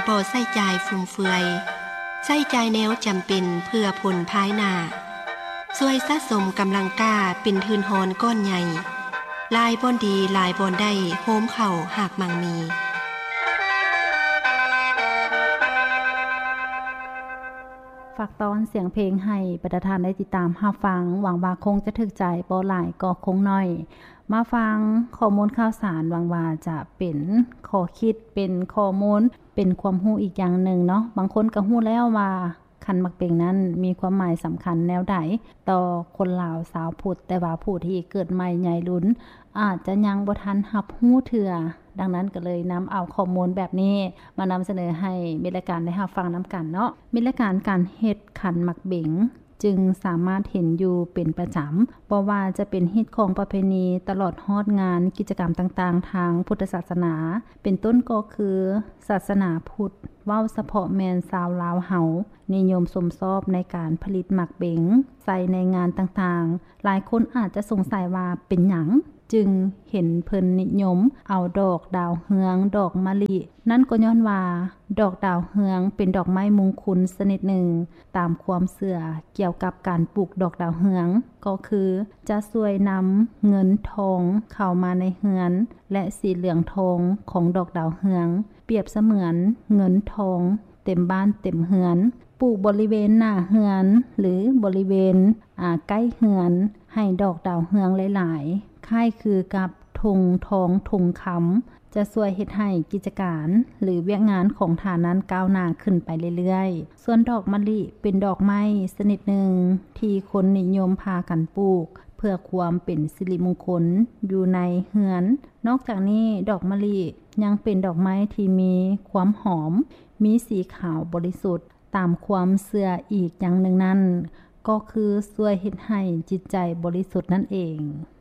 ບໍ່ໃຊ້ຈ່າຍຟຸມເຟືອຍ, ໃຊ້ຈ່າຍແນວຈຳເປັນເພື່ອຜົນພາຍໜ້າ, ຊ່ວຍສະສົມກຳລັງກ້າເປັນທຶນຮອນກ້ອນໃຫຍ່, ຫຼາຍບ່ອນດີຫຼາຍບ່ອນໄດ້ ໂຮມເຂົ້າຮາກໝັ່ງມີ. ຝາກຕ້ອນສຽງເພງໃຫ້ບັນດາທ່ານໄດ້ຕິດຕາມຮັບຟັງ, ຫວັງວ່າຄົງຈະຖືກໃຈ, ບໍ່ຫຼາຍກໍຄົງໜ້ອຍ. ມາຟັງຂໍ້ມູນຂ່າວສານ, ຫວັງວ່າຈະເປັນຂໍ້ຄິດ, ເປັນຂໍ້ມູນ, ເປັນຄວາມຮູ້ອີກຢ່າງໜຶ່ງເນາະ. ບາງຄົນກໍຮູ້ແລ້ວວ່າຂັນໝາກເບັງນັ້ນມີຄວາມໝາຍສຳຄັນແນວໃດຕໍ່ຄົນລາວຊາວພຸດ, ແຕ່ວ່າຜູ້ທີ່ເກີດໃໝ່ໃຫຍ່ລຸນອາດຈະຍັງບໍ່ທັນຮັບຮູ້ເທື່ອ. ດັ່ງນັ້ນກໍເລີຍນຳເອົາຂໍ້ມູນແບບນີ້ມານຳສະເໜີໃຫ້ມິດລາຍການໄດ້ຮັບຟັງນຳກັນເນາະ. ມິດລາຍການ ການເຮັດຂັນໝາກເບັງ ຈຶ່ງສາມາດເຫັນຢູ່ເປັນປະຈຳ, ບໍ່ວ່າຈະເປັນຮີດຄອງປະເພນີ ຕະຫຼອດຮອດງານກິດຈະກຳຕ່າງໆທາງພຸດທະສາສະໜາ, ເປັນຕົ້ນກໍຄືສາສະໜາພຸດ, ເວົ້າສະເພາະແມ່ນຊາວລາວເຮົາ ນິຍົມຊົມຊອບໃນການຜະລິດໝາກເບັງໃສ່ໃນງານຕ່າງໆ. ຫຼາຍຄົນອາດຈະສົງໄສວ່າເປັນຫຍັງຈຶ່ງເຫັນເພິ່ນນິຍົມເອົາດອກດາວເຮືອງ, ດອກມະລິ. ນັ້ນກໍຍ້ອນວ່າດອກດາວເຮືອງເປັນດອກໄມ້ມຸງຄຸນຊະນິດໜຶ່ງ, ຕາມຄວາມເຊື່ອກ່ຽວກັບການປູກດອກດາວເຮືອງ ກໍຄືຈະຊ່ວຍນຳເງິນທອງເຂົ້າມາໃນເຮືອນ ແລະ ສີເຫຼືອງທອງຂອງດອກດາວເຮືອງ ປຽບສະເໝືອນເງິນທອງເຕັມບ້ານເຕັມເຮືອນ, ປູກບໍລິເວນໜ້າເຮືອນ ຫຼື ບໍລິເວນ ອາ ໃກ້ເຮືອນ ໃຫ້ດອກດາວເຮືອງຫຼາຍໆ, ຄ້າຍຄືກັບຖົງທອງຖົງຄຳ, ຈະຊ່ວຍເຮັດໃຫ້ກິດຈະການ ຫຼື ວຽກງານຂອງທ່ານນັ້ນກ້າວໜ້າຂຶ້ນໄປເລື້ອຍໆ. ສ່ວນດອກມະລິເປັນດອກໄມ້ຊະນິດໜຶ່ງທີ່ຄົນນິຍົມພາກັນປູກເພື່ອຄວາມເປັນສິລິມຸງຄົນຢູ່ໃນເຮືອນ. ນອກຈາກນີ້, ດອກມະລິຍັງເປັນດອກໄມ້ທີ່ມີຄວາມຫອມ, ມີສີຂາວບໍລິສຸດ, ຕາມຄວາມເຊື່ອອີກຢ່າງໜຶ່ງນັ້ນ ກໍຄືຊ່ວຍເຮັດໃຫ້ຈິດໃຈບໍລິສຸດນັ້ນເອງ.